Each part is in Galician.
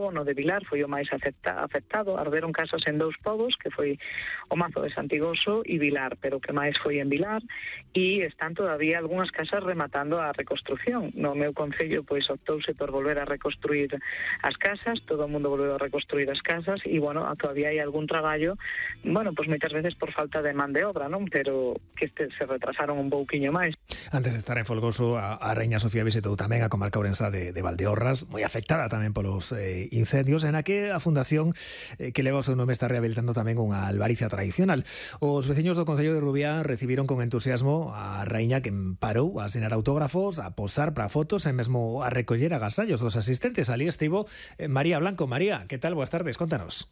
pobo, no de Vilar, foi o máis afectado. Arderon casas en 2 pobos, que foi o Mazo de Santigoso e Vilar, pero o que máis foi en Vilar, e están todavía algunhas casas rematando a reconstrucción. No meu concello, pois, optouse por volver a reconstruir as casas, todo o mundo volveu a reconstruir as casas, e, bueno, todavía hai algún traballo, bueno, pois moitas veces por falta de man de obra, non? Pero que se retrasaron un pouquiño máis. Antes de estar en Folgoso, a Raíña Sofía visitou tamén a comarca ourensa de Valdeorras, moi afectada tamén polos incendios, en a que a fundación que leva o seu nome está rehabilitando tamén unha albariza tradicional. Os veciños do Concello de Rubiá recibiron con entusiasmo a Raíña, que parou a asinar autógrafos, a posar para fotos e mesmo a recoller agasallos dos asistentes. Ali estivo María Blanco. María, que tal? Boas tardes, contanos.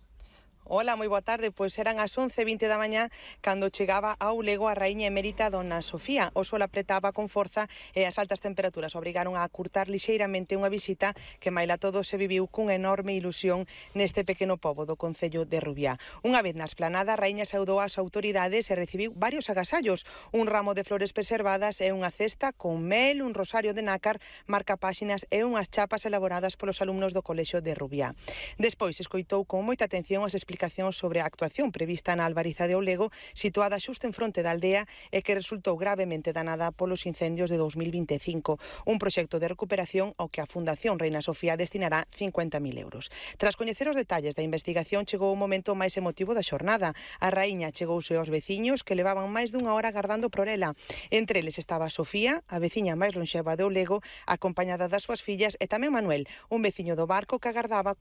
Ola, moi boa tarde. Pois eran as 11:20 da mañá cando chegaba ao Lego a raíña emérita Dona Sofía. O sol apretaba con forza e as altas temperaturas obrigaron a acurtar lixeiramente unha visita que maila todo se viviu cunha enorme ilusión neste pequeno pobo do Concello de Rubiá. Unha vez na esplanada, a raíña saudou as autoridades e recibiu varios agasallos, un ramo de flores preservadas e unha cesta con mel, un rosario de nácar, marcapáxinas e unhas chapas elaboradas polos alumnos do Colexio de Rubiá. Despois escoitou con moita atención as explicacións sobre a actuación prevista na albariza de Olego, situada xusto en fronte da aldea e que resultou gravemente danada polos incendios de 2025. Un proxecto de recuperación ao que a Fundación Reina Sofía destinará 50.000 euros. Tras coñecer os detalles da investigación, chegou o momento máis emotivo da xornada. A raíña chegouse aos veciños que levaban máis dunha hora agardando por ela. Entre eles estaba Sofía, a veciña máis lonxeva de Olego, acompañada das súas fillas, e tamén Manuel, un veciño do barco que gardaba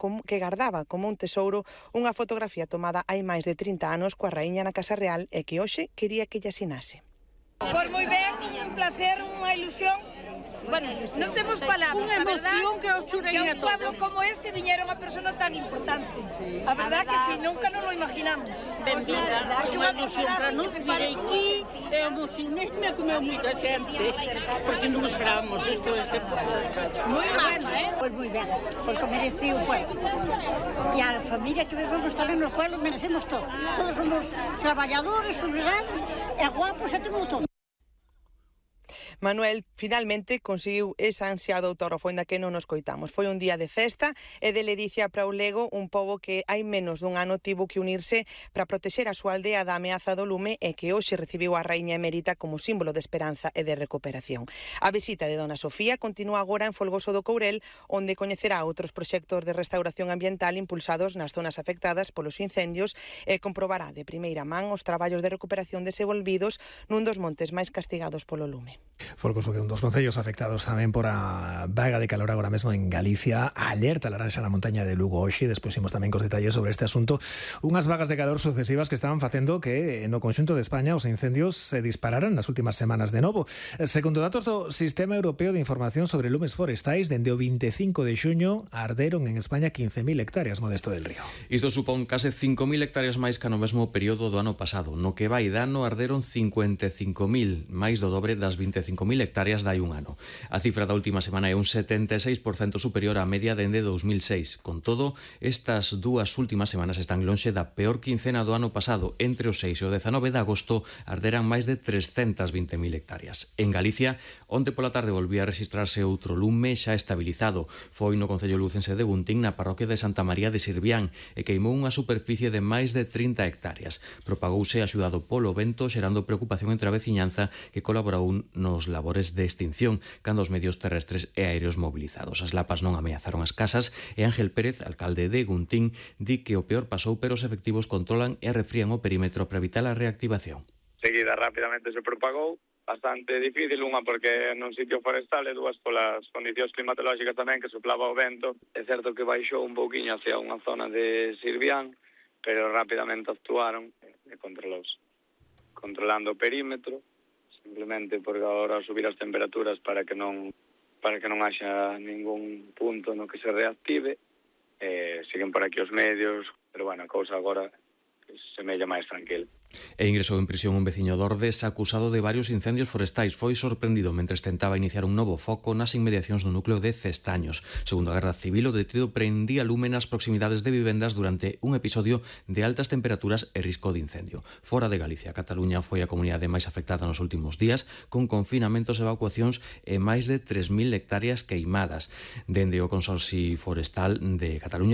como un tesouro unha fotografía tomada hai máis de 30 anos coa raíña na Casa Real e que hoxe quería que lle asinase. Pois moi ben, un placer, unha ilusión. Bueno, non temos palabras, unha emoción que o churei que a un pueblo como este viñera unha persona tan importante. Sí. A verdad que si, nunca nos lo imaginamos. Benvida, que unha ilusión para nos vir aquí, e emocionei-me como moita xente, porque non esperábamos isto. Moi bueno, Pois moi ben, porque mereceu o pueblo. E a familia que vivemos tamén no pueblo merecemos todo. Todos somos traballadores, solidarios e guapos e temos todo. Manuel finalmente conseguiu ese ansiado autógrafo, ainda que non nos coitamos. Foi un día de festa e de ledicia para o Lego, un pobo que hai menos dun ano tivo que unirse para protexer a súa aldea da ameaza do lume e que hoxe recibiu a raíña emérita como símbolo de esperanza e de recuperación. A visita de Dona Sofía continúa agora en Folgoso do Courel, onde coñecerá outros proxectos de restauración ambiental impulsados nas zonas afectadas polos incendios e comprobará de primeira man os traballos de recuperación desenvolvidos nun dos montes máis castigados polo lume. Folgoso, que un dos concellos afectados tamén por a vaga de calor agora mesmo en Galicia, alerta laranxa na montaña de Lugo hoxe, despois imos tamén cos detalles sobre este asunto, unhas vagas de calor sucesivas que estaban facendo que no conxunto de España os incendios se dispararan nas últimas semanas de novo. Segundo datos do Sistema Europeo de Información sobre Lumes Forestais, dende o 25 de xuño arderon en España 15.000 hectáreas, Modesto del Río. Isto supón case 5.000 hectáreas máis que no mesmo período do ano pasado. No que vai dano arderon 55.000, máis do dobre das 25.000 hectáreas dai un ano. A cifra da última semana é un 76% superior á media dende 2006. Con todo, estas dúas últimas semanas están lonxe da peor quincena do ano pasado. Entre o 6 e o 19 de agosto arderan máis de 320.000 hectáreas. En Galicia, onte pola tarde volvía a registrarse outro lume xa estabilizado. Foi no concello lucense de Guntín, na parroquia de Santa María de Sirvián, e queimou unha superficie de máis de 30 hectáreas. Propagouse axudado polo vento, xerando preocupación entre a veciñanza que colaborou nos labores de extinción cando os medios terrestres e aéreos mobilizados. As lapas non ameazaron as casas e Ángel Pérez, alcalde de Guntín, di que o peor pasou, pero os efectivos controlan e refrían o perímetro para evitar a reactivación. Seguida rapidamente se propagou, bastante difícil, unha porque nun sitio forestal e dúas polas condicións climatolóxicas tamén, que soplaba o vento. É certo que baixou un pouquiño hacia unha zona de Sirvián, pero rapidamente actuaron e controlouse. Controlando o perímetro, simplemente porque agora subir as temperaturas para que non haxa ningún punto no que se reactive. Siguen por aquí os medios, pero bueno, a cousa agora semella máis tranquila. E ingresou en prisión un veciño de Ordes acusado de varios incendios forestais. Foi sorprendido mentres tentaba iniciar un novo foco nas inmediacións do núcleo de Cestaños. Segundo a Garda Civil, o detido prendía lume nas proximidades de vivendas durante un episodio de altas temperaturas e risco de incendio. Fora de Galicia, Cataluña foi a comunidade máis afectada nos últimos días, con confinamentos e evacuacións e máis de 3.000 hectáreas queimadas. Dende o Consorcio Forestal de Cataluña